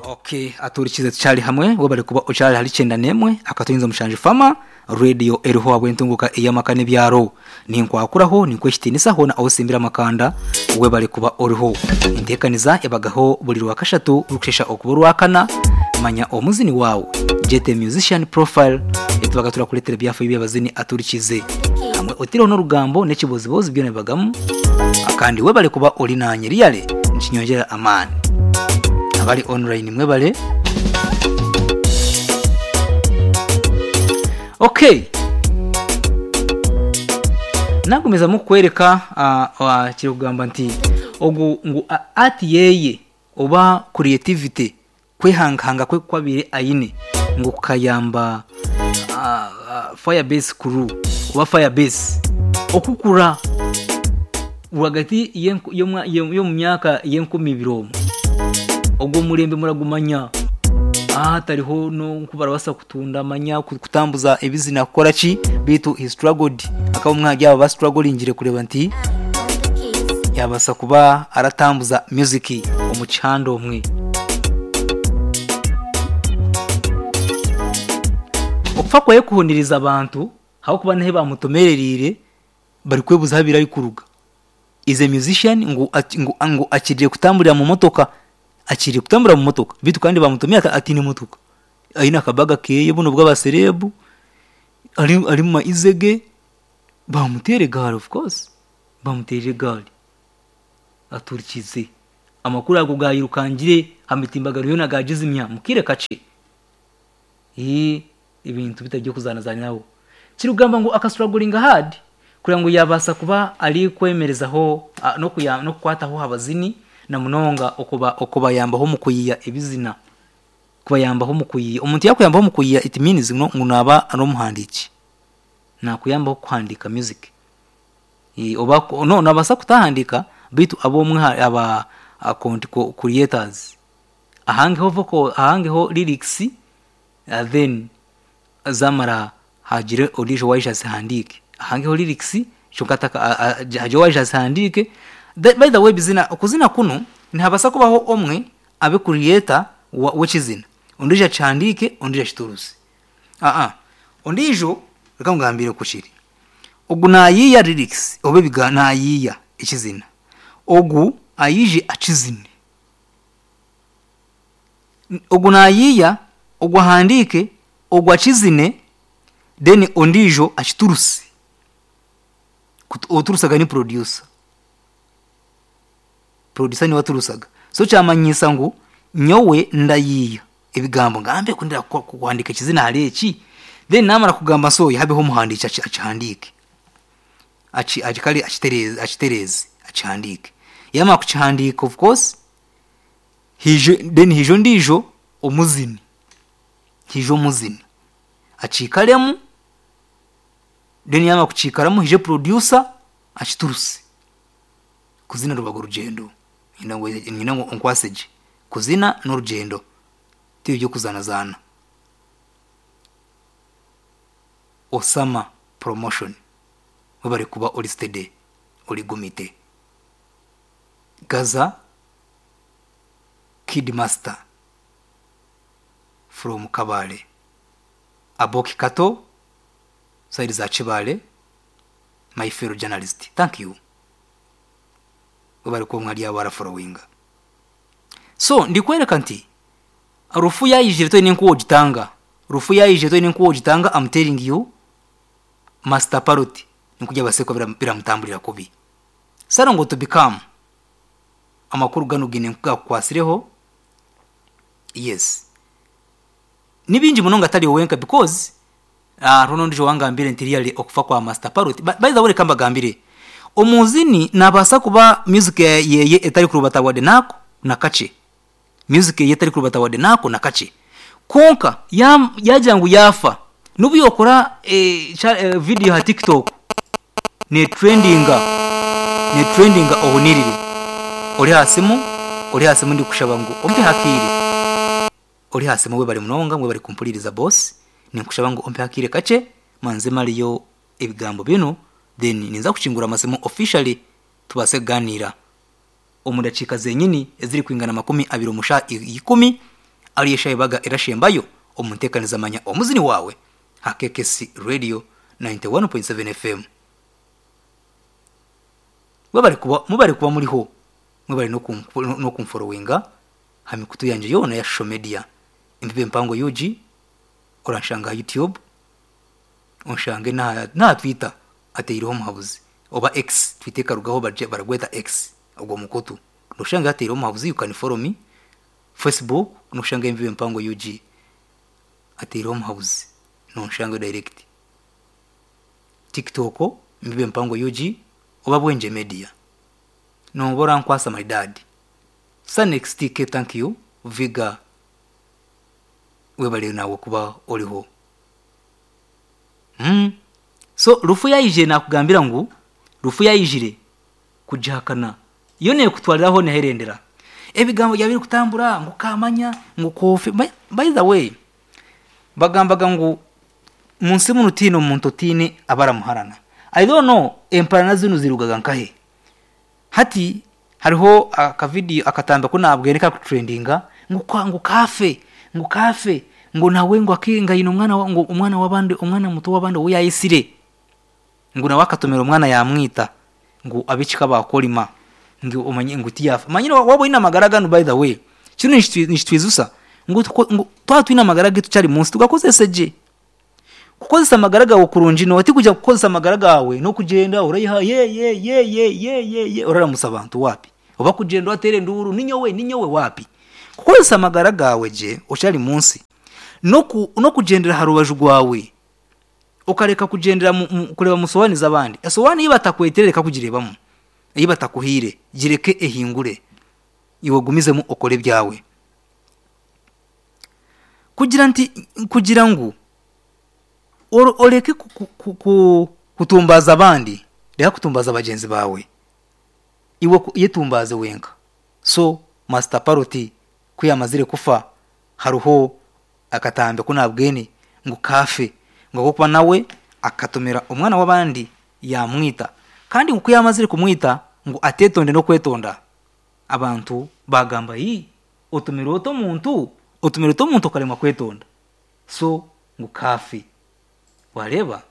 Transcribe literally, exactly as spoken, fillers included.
Okay, aturikize tukyali hamwe webale kuba okyali hali kyenda n'emwe akatuyinza mushanju fama radio eriho abwentunguka ey'amaka n'ebyaro. Ninkwakuraho, ninkwekitiinisa hoona osimbira amakanda, webale kuba oriho. Enteekaniza ebagaho buri rwakashatu rukushesha okuba orwakana. Manya omuzini waawe, jete musician profile, etubaga turakuleetera ebyafayo by'abazini aturikize hamwe otireho n'orugambo n'ekibozibozi byona bibagamu. Kandi webale kuba ori nanye riyale nikinyongyera amaani. Abali online mwebale. Okay, nagumizamu kukwereka uh, uh, kiri kugamba nti ogu ngu uh, art yeye oba creativity, kwehangahanga kwe kwabire ayine ngu kukayamba uh, uh, Firebase crew oba Firebase okukura rwagati y'enku- y'omwa- y'omu myaka y'enkumi ibiri omwe. Ogwo murembe muragumanya aha tariho no kubarabasa kutunda amanya ku- kutambuza ebizina kukora ki, bitu he struggled, akaba omwe ahari abo bastrugglingire kureba nti yabasa kuba aratambuza music omu kihanda omwe. Okufa kwaye kuhuniriza abantu ahabw'okuba nihe bamutomereriire bari kwebuza ahu abaire arikuruga. Is a musician ngu, ati- ngu, ngu akiriire kutamburira mu motoka, akiriire kutambura mu motoka, bitu kandi bamutumire ati atiine motoka, aine akabaga keye buno bw'abaserebu, ari ari mu maize ge, bamuteera egaari, of course bamuteerire egaari. Aturikize amakuru ago gayirukangire ha mitimbagano yoona gagizimya mu kaire kakye. Ee, ebintu bitari by'okuzaanazaniraho. Kirikugamba ngu akastrugglinga hard kugira ngu yabaasa kuba ari kwemerezaho ah, n'okuya- n'okukwataho abazini na munonga okuba okubayambaho omu kuyiya ebizina, kubayambaho omu kuyiya. Omuntu yakuyambaho omu kuyiya, it means no ngu naaba ari omuhandiiki, nakuyambaho kuhandiika music. Eh, oba ku- no nabaasa kutahandiika, bitu ab'omwe ha- aba a- content co- creators ahangeho vocal, ahangeho lyrics, uh, then zamara hagire ondiijo waija azihandiike, ahangeho lyrics kyonka ataka- a- a- hagire owaija azihandiike. The- by the way, bizina okuzina kunu nihabasa kubaho omwe abe creator wa- w'ekizina, ondiijo akihandiike, ondiijo akituruse. Aa, ondiijo reka ngambire ku kiri. Ogu nayiiya lyrics oba ebiga nayiiya ekizina, ogu ayije akizine. Ogu nayiiya, ogu ahandiike, ogu akizine, then ondiijo akituruse. Kutu- oturusaga ni producer, producer niwe aturusaga. So kyamanyisa ngu nyowe ndayiiya ebigambo, ngambe ku ndira ku- kuhandiika ekizina hari eki, then namara kugamba nsoya habeho omuhandiiki aki- akihandiike, Aki- aki- kare akitereze akitereze akihandiike. Yamara kukihandiika, of course hije, then hije ondiijo omuzini, hije omuzini akiikaremu, then yamara kukiikaramu hije producer akituruse. Kuzina rubaga orugyendo, nyine ngu nyine ngu onkwase gye. Kuzina n'orugyendo, ti eby'okuzaanazaana. Osama Promotion, webare kuba ori steady, ori gumite. Gaza Kid Master from Kabale, Aboki Kato side za Kibale, my fellow journalist, thank you, webare kuba mwari abo barafollowinga. So ndikwereka nti rufu yayijire toine nkuwo ogitanga, rufu yayijire toine nkuwo ogitanga. I'm telling you, Master Parrot nikujya baseko biramutamburira kubi sara ngo to become. Amakuru gano gine nkugakukwasireho, yes, ni bingi munonga atari wenka, because uh, runo ndijo wangambire nti really okufa kwa Master Parrot. By by the way, reka mbagambire, omuzini nabaasa kuba music yeye etari kurubata wadde nako nakakye, music yeye etari kurubata wadde nako nakakye, konka yam- yagira ngu yafa, n'obu yokora eh, cha- eh, video ha TikTok ne trendinga ne trendinga ohunirire. Ori aha simu, ori aha simu, ndikushaba ngu ompe hakiire. Ori aha simu, webare munonga, mwebare kumpuliriza boss. Ninkushaba ngu ompe hakiire kakye manze mariyo ebigambo binu, then ninza kukingura amasimu officially tubaase kuganira omu dakiika zenyini eziri kwingana makumi abiri omu shaaha ikumi. Ariyo Shaibaga erashembayo omu nteekanizamanya omuzini waawe ha K K C Radio ninety-one point seven F M. Mwebare kuba, mwebare kuba muriho, mwebare no kumforowinga ha mikutu yanje yona ya social media. Embibe Mpango U G, oranshanga YouTube, onshange na, na Twitter ateireho Muhabuzi, oba X, Twitter karugaho barye baragweta X ogwo mukutu. Noshanga ateireho Muhabuzi, you can follow me. Facebook noshanga Embibe Mpango U G ateireho Muhabuzi, nonshanga direct. TikTok Embibe Mpango U G oba Bwenje Media. Nobora nkwasa my dad. Sanex T K, thank you. Viga webale nawe kuba oliho. Mm. So rufu yayije nakugambira ngu rufu yayijire kujahakana iyo ne kutwaliraho neherendera ebigambo byabiri kutambura ngu kamanya ngu kofe. By, by the way bagambaga ngu munsi muno tino muntu tine abaramuharana. I don't know emparana zino zirugaga nkahe. Hati hariho akavideo akatamba ko nabwereka ku trendinga ngu kwa ngu kafe ngu kafe ngo nawe ngo akinga ino mwana wa, ngo umwana wabandi umwana muto wabandi we yayisire ngo nawe akatomera umwana yamwita ngo abicika bakolima ngo umanye ngo tiyafa manyine wabo ina magaraga no by the way kino nishitwizusa ngo twa twina magaraga tucyari munsi tugakozese je kukozesa amagaraga wo kurunji no ati kujya kukozesa amagaraga yawe no kugenda urayiha ye ye ye ye ye ye ye uraramusa abantu wapi oba kugenda watere nduru ninyowe ninyowe wapi kukozesa amagaraga yawe je ucyari munsi no ku, no kugendera harubaju gwawe ukareka kugendera kureba musowani z'abandi esowani iyo batakweterereka kugirebamo iyo batakuhire gireke ehingure iwe gumizemo okore byawe kugira nti kugira ngo oreke kutumbaza abandi reka kutumbaza abagenzi bawe iwe yetumbaze wenka. So Master Paroti kuyamazire kufa haruho akatambe kunabwene ngo kafe ngo kuba nawe akatomera umwana w'abandi yamwita kandi ngo kuyamazire kumwita ngo atetonde no kwetonda abantu bagamba yi otomera oto muntu otomera oto muntu karema kwetonda so ngo kafe wareba.